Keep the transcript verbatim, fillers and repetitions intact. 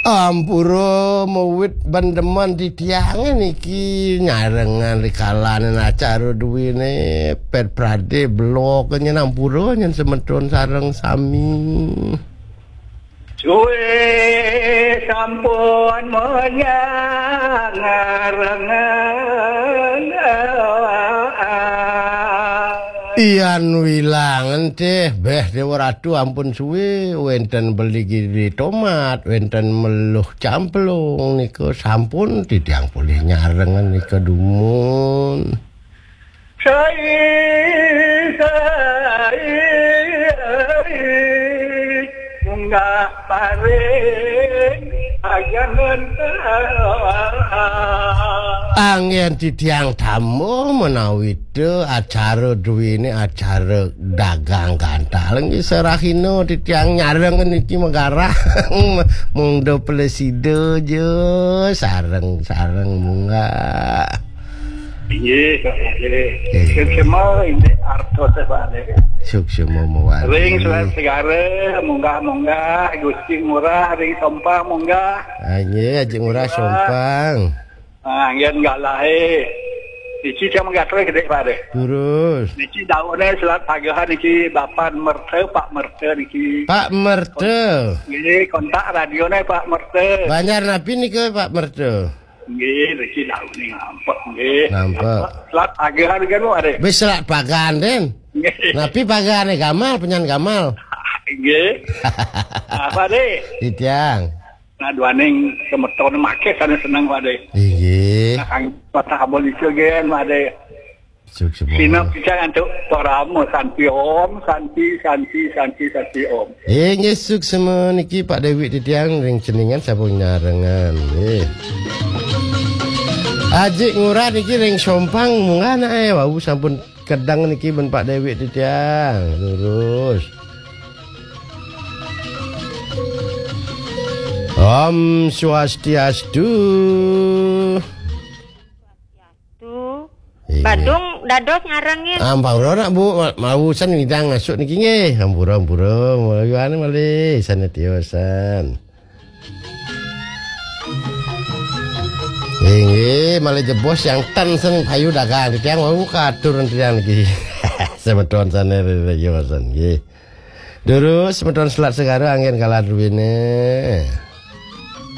Ampura mawit bendemen titiange niki nyarengan rikalane acara duwene Pet Prade blok nyen ampura nyen semeton sareng sami. Suwe sampun menyang ngarengan. Ian wilangan teh beh Dewa Ratu ampun suwe wenten beli giri tomat, wenten meluh camplung nika sampun titiang polih nyarengan nika dumun. Sai, sai, munggah paring ajangan. Anggen titiang tamu menawi te acara duwene acara dagang gantal nggih serahina titiang nyareng niki megarah mung do plesida je sareng-sareng munggah. Inggih, Pak Ade. Inggih. Suksma inggih artos, Pak Ade. Suksma mawali. Ring Selat Segara, munggah-munggah, Gusti Ngurah, ring Sompang, munggah. Ah, inggih, Aji Ngurah Sompang. Ah, nggih, nggalahe. Niki cang gatra gede, Pak Ade. Terus. Niki daune Selat Pagehan niki Bapak Merta, Pak Merta niki. Pak Merta. Nggih, kontak radione Pak Merta. Banjar napi nika Pak Merta? Nggih, niki daune ngampek, nggih. Ngampek. Selat Pagehan kan, Pak Ade? Wis Selat Pagan, Den. Nggih. Napi pagane gamal, penyan gamal? Nggih. Apa, Ade? Titiang. Nah, duaning semeton make sane seneng, Pak Ade. Inggih. Nah, kang patah abon ijo gen, Pak Ade. Suksma. Sina pisan antuk parama santi om, santi, santi, santi, santi om. Inggih suksma niki Pak Dewi titiang ring ceningan sampun nyarengan. Nggih. Aji Ngurah niki ring Sompang munggah nae wau sampun kedeng niki ben Pak Dewi titiang. Lurus. Om Swastiastu. Tuh. Iya. Badung dados ngarengin. Ampura nak, Bu, ma-, mawusan widang masuk niki nggih. Ampura, ampura, mayuane malih sane tiosan. Inggih, malih jebos yang ten sen payu dagang titiang wau katur titiang niki. Semeton sane tiosan nggih. Durus semeton Selat Segara anggen kalah druwine.